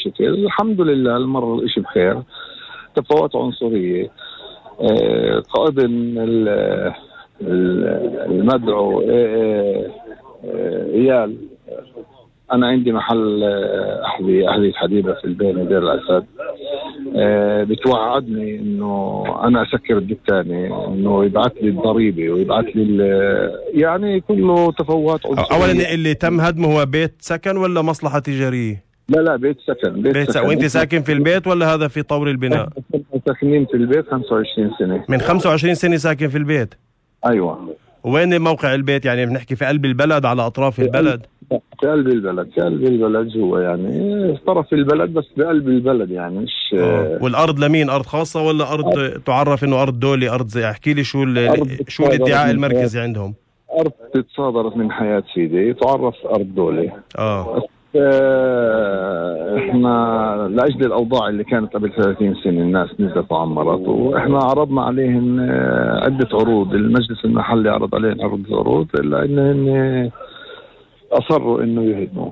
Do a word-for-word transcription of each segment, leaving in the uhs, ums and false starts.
الشكل. الحمد لله المرة الاشي بخير. تفاوت عنصرية، قائد المدعو ايال، انا عندي محل احذية احذية حديدة في البين دير الاسد، بتوعدني انه انا اسكر الدكانة، انه يبعث لي الضريبة ويبعث لي يعني كله تفاوت عنصرية. اولا اللي تم هدمه هو بيت سكن ولا مصلحة تجارية؟ لا لا بيت سكن. بيت, بيت سكن. وانت ساكن في البيت ولا هذا في طور البناء؟ ساكنين في البيت خمسة وعشرين سنة. من خمسة وعشرين سنة ساكن في البيت؟ ايوه. وين موقع البيت؟ يعني بنحكي في قلب البلد على اطراف البلد؟ في قلب البلد، في قلب البلد جوا، يعني في طرف البلد بس بقلب البلد يعني مش. آه. والارض لمين؟ ارض خاصة ولا ارض آه. تعرف انه ارض دولي؟ ارض زي احكي لي شو شو الادعاء المركزي عندهم؟ ارض تصادرت من حياة سيدي، تعرف ارض دولي. اه احنا لاجل الاوضاع اللي كانت قبل ثلاثين سنة الناس نزلت وعمرت، واحنا عرضنا عليهم عدة عروض، المجلس المحلي عرض عليهم عدة عروض الا انهم اصروا انه يهدموا.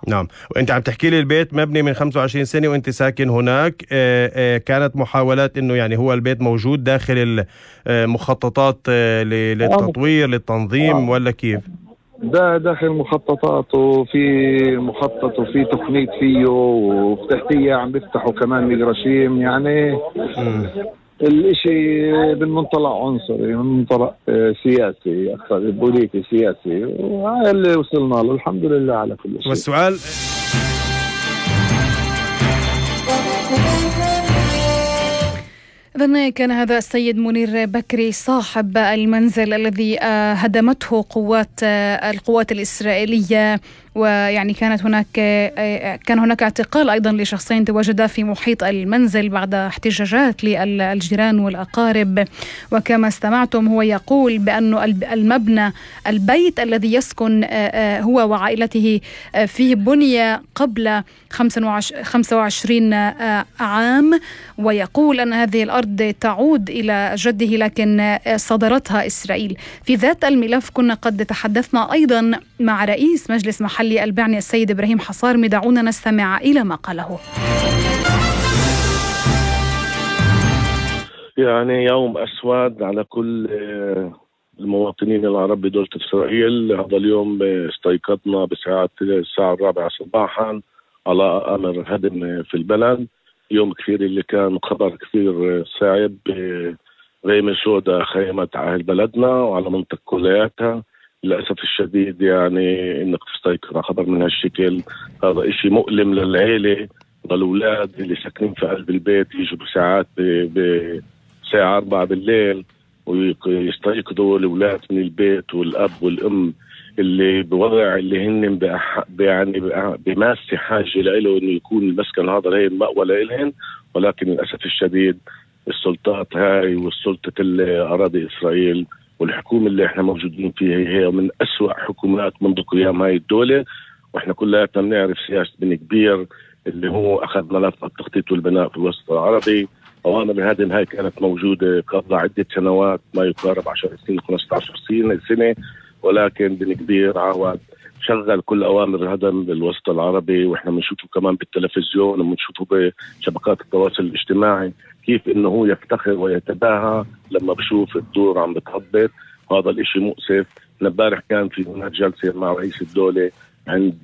نعم. وانت عم تحكي لي البيت مبني من خمسة وعشرين سنة وانت ساكن هناك، اه اه كانت محاولات انه يعني هو البيت موجود داخل المخططات للتطوير للتنظيم ولا كيف؟ ده داخل مخططات، وفي مخطط وفي تقنية فيه، وتحتيه عم بيفتحوا كمان ميجراشيم يعني. م. الاشي بالمنطلق عنصري، من منطلق سياسي اكثر، بوليتي سياسي، وهذا اللي وصلنا له الحمد لله على كل شيء. والسؤال إذن كان هذا السيد منير بكري صاحب المنزل الذي هدمته قوات القوات الإسرائيلية، ويعني كانت هناك كان هناك اعتقال أيضا لشخصين تواجدا في محيط المنزل بعد احتجاجات للجيران والأقارب. وكما استمعتم هو يقول بأن المبنى البيت الذي يسكن هو وعائلته فيه بني قبل خمسة وعشرين عام، ويقول أن هذه الأرض تعود إلى جده لكن صدرتها إسرائيل. في ذات الملف كنا قد تحدثنا أيضا مع رئيس مجلس محلي البعني السيد إبراهيم حصارمي، دعونا نستمع إلى ما قاله. يعني يوم أسود على كل المواطنين العرب بدولة إسرائيل. هذا اليوم استيقظنا بساعة الساعة الرابعة صباحا على أمر هدم في البلد. يوم كثير اللي كان خبر كثير صعب، غيمة سوداء خيمت على بلدنا وعلى منطقة كلياتها. للأسف الشديد يعني إنك تستيقظ على خبر من هالشكل، هذا إشي مؤلم للعيلة والأولاد اللي ساكنين في قلب البيت، يجوا بساعات بساعة أربعة بالليل ويستيقظوا الأولاد من البيت، والأب والأم اللي بوضع اللي هن بأح... يعني بماسة حاجة لإله إنه يكون المسكن هذا هي مأوى لإلهن. ولكن للأسف الشديد السلطات هاي والسلطة الأراضي إسرائيل والحكومة اللي احنا موجودين فيها هي من أسوأ حكومات منذ قيام هاي الدولة. واحنا كلنا بنعرف سياسة بن كبير اللي هو أخذ ملف التخطيط والبناء في الوسط العربي. أوامر الهدم هاي كانت موجودة قبل عدة سنوات، ما يقارب عشر سنين خمسة عشر سنة، ولكن بن كبير عاود شغل كل أوامر الهدم بالوسط العربي. وإحنا بنشوفه كمان بالتلفزيون وبنشوفه بشبكات التواصل الاجتماعي كيف إنه هو يفتخر ويتباهى لما بشوف الدور عم بتهبط. هذا الإشي مؤسف. امبارح كان في هناك جلسة مع رئيس الدولة عند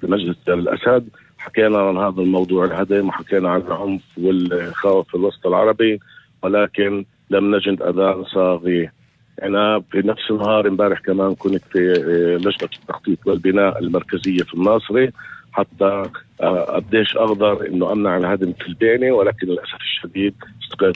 بمجلس دير الأسد، حكينا عن هذا الموضوع الهدم وحكينا عن العنف والخوف في الوسط العربي، ولكن لم نجد أذان صاغي. أنا في نفس النهار امبارح كمان كنت في لجنة التخطيط والبناء المركزية في الناصري حتى قديش أقدر إنه أمنع الهدم في البينة، ولكن للأسف الشديد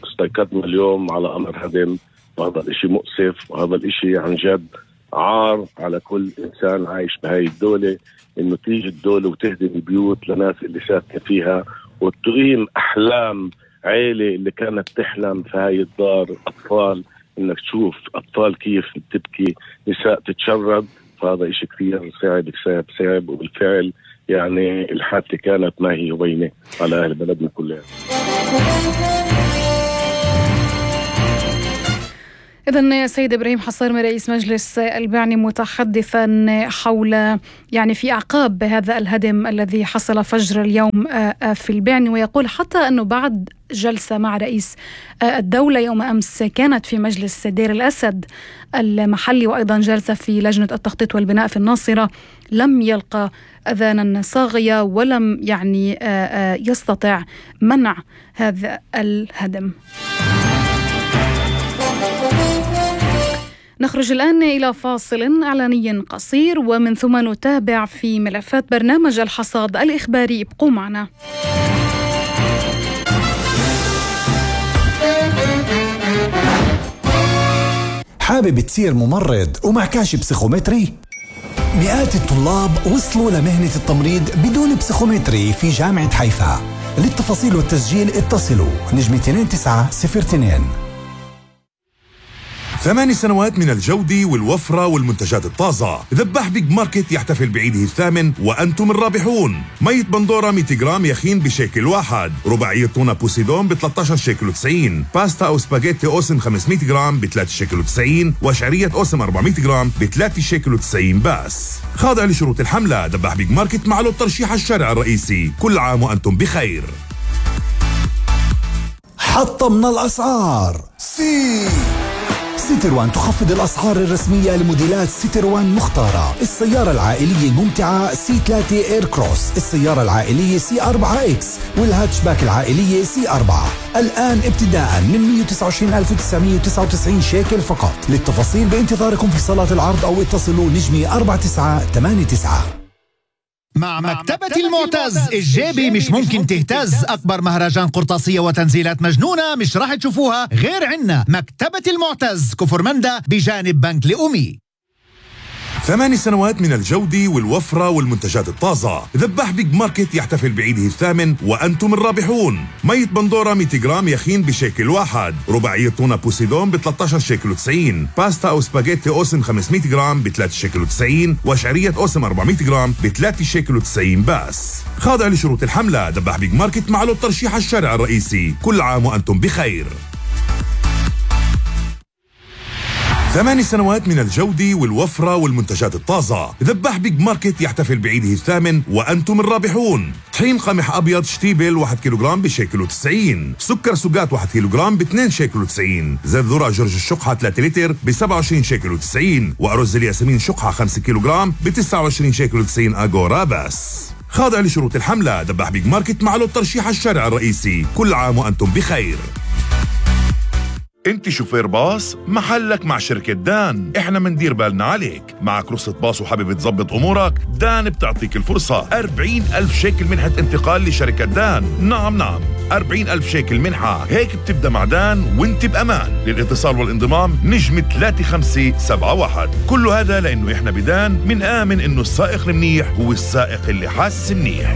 استيقظنا اليوم على أمر هدم. وهذا الإشي مؤسف، وهذا الإشي عن جد عار على كل إنسان عايش بهاي الدولة، إنه تيجي الدولة وتهدم البيوت لناس اللي ساكنة فيها وتقيم أحلام عائلة اللي كانت تحلم في هاي الدار. أطفال، إنك تشوف أطفال كيف تبكي، نساء تتشرد. فهذا إشي كثير صعب صعب صعب، وبالفعل يعني الحادثة كانت ما هي وبينة على أهل بلدنا كلها. إذن سيد إبراهيم حصيرمي رئيس مجلس البعني متحدثا حول يعني في أعقاب هذا الهدم الذي حصل فجر اليوم في البعني، ويقول حتى أنه بعد جلسة مع رئيس الدولة يوم أمس كانت في مجلس دير الأسد المحلي، وأيضا جلسة في لجنة التخطيط والبناء في الناصرة، لم يلقى أذانا صاغية ولم يعني يستطع منع هذا الهدم. نخرج الآن إلى فاصل إعلاني قصير ومن ثم نتابع في ملفات برنامج الحصاد الإخباري. ابقوا معنا. حابب تصير ممرض ومعكاش بسيخومتري؟ مئات الطلاب وصلوا لمهنة التمريض بدون بسيخومتري في جامعة حيفا. للتفاصيل والتسجيل اتصلوا نجمة اثنين تسعة صفر اثنين. ثماني سنوات من الجودة والوفرة والمنتجات الطازة. ذباح بيج ماركت يحتفل بعيده الثامن وأنتم الرابحون. مية بندورة مئة جرام يخين بشيكل واحد. رباعية تونة بوسيدون ب ثلاثة عشر شيكل وتسعين. باستا أو سباجيتي أوسم خمسمئة جرام ب ثلاثة شيكل وتسعين. وشعرية أوسم أربعمئة جرام ب ثلاثة شيكل وتسعين بس. خاضع لشروط الحملة. ذباح بيج ماركت مع له الترشيح الشارع الرئيسي. كل عام وأنتم بخير. حطمنا الأسعار. سي سيتروان تخفض الأسعار الرسمية لموديلات سيتروان مختارة. السيارة العائلية الممتعة سي ثلاثة إير كروس، السيارة العائلية سي أربعة إكس، والهاتشباك العائلية سي أربعة، الآن ابتداء من مئة وتسعة وعشرين ألف وتسعمئة وتسعة وتسعين شيكل فقط. للتفاصيل بانتظاركم في صالات العرض أو اتصلوا نجمة أربعة تسعة ثمانية تسعة. مع مكتبة المعتز الجيبي مش ممكن تهتز. أكبر مهرجان قرطاسية وتنزيلات مجنونة مش راح تشوفوها غير عنا. مكتبة المعتز كفر مندا بجانب بنك لأمي. ثماني سنوات من الجودة والوفرة والمنتجات الطازة. ذباح بيج ماركت يحتفل بعيده الثامن وأنتم الرابحون. مية بندورة مئة جرام يخين بشيكل واحد. رباعية تونة بوسيدون ب ثلاثة عشر شيكل وتسعين. باستا أو سباجيتي أوسم خمسمئة جرام ب ثلاثة شيكل وتسعين. وشعرية أوسم أربعمئة جرام ب ثلاثة شيكل وتسعين بس. خاضع لشروط الحملة. ذباح بيج ماركت مع له الترشيح الشارع الرئيسي. كل عام وأنتم بخير. ثماني سنوات من الجودة والوفرة والمنتجات الطازة. ذباح بيج ماركت يحتفل بعيده الثامن وأنتم الرابحون. طحين قمح أبيض شتيبل واحد كيلوغرام بشيكل وتسعين. سكر سوقات واحد كيلوغرام باثنين شيكل وتسعين. زيت ذرة جورج الشقحة ثلاثة لتر ب سبعة وعشرين شيكل وتسعين. وأرز الياسمين شقحة خمسة كيلوغرام ب تسعة وعشرين شيكل وتسعين أغورا بس. خاضع لشروط الحملة. ذباح بيج ماركت مع له الترشيح الشارع الرئيسي. كل عام وأنتم بخير. انت شوفير باص؟ محلك مع شركة دان. احنا مندير بالنا عليك. معك رخصة باص وحابب تظبط امورك؟ دان بتعطيك الفرصة. أربعين ألف شيكل منحة انتقال لشركة دان. نعم نعم أربعين ألف شيكل منحة. هيك بتبدأ مع دان وانت بأمان. للاتصال والانضمام نجمة ثلاثة خمسة سبعة واحد. كل هذا لأنه احنا بدان من آمن انه السائق المنيح هو السائق اللي حاس منيح.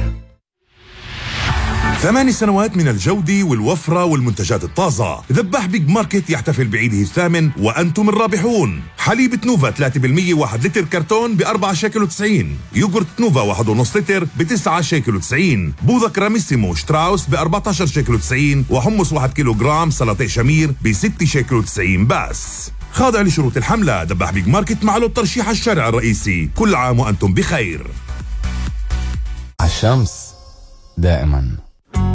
ثماني سنوات من الجودة والوفرة والمنتجات الطازة. ذباح بيج ماركت يحتفل بعيده الثامن وأنتم الرابحون. حليب نوفا ثلاثة بالمئة واحد لتر كرتون ب أربعة شيكل وتسعين. يوغورت نوفا واحد ونص لتر ب تسعة شيكل وتسعين. بوظة كراميسيمو شتراوس ب أربعة عشر شيكل وتسعين. وحمص واحد كيلوغرام سلطة شمير ب ستة شيكل وتسعين بس. خاضع لشروط الحملة. ذباح بيج ماركت مع له الترشيح الشارع الرئيسي. كل عام وأنتم بخير. الشمس دائما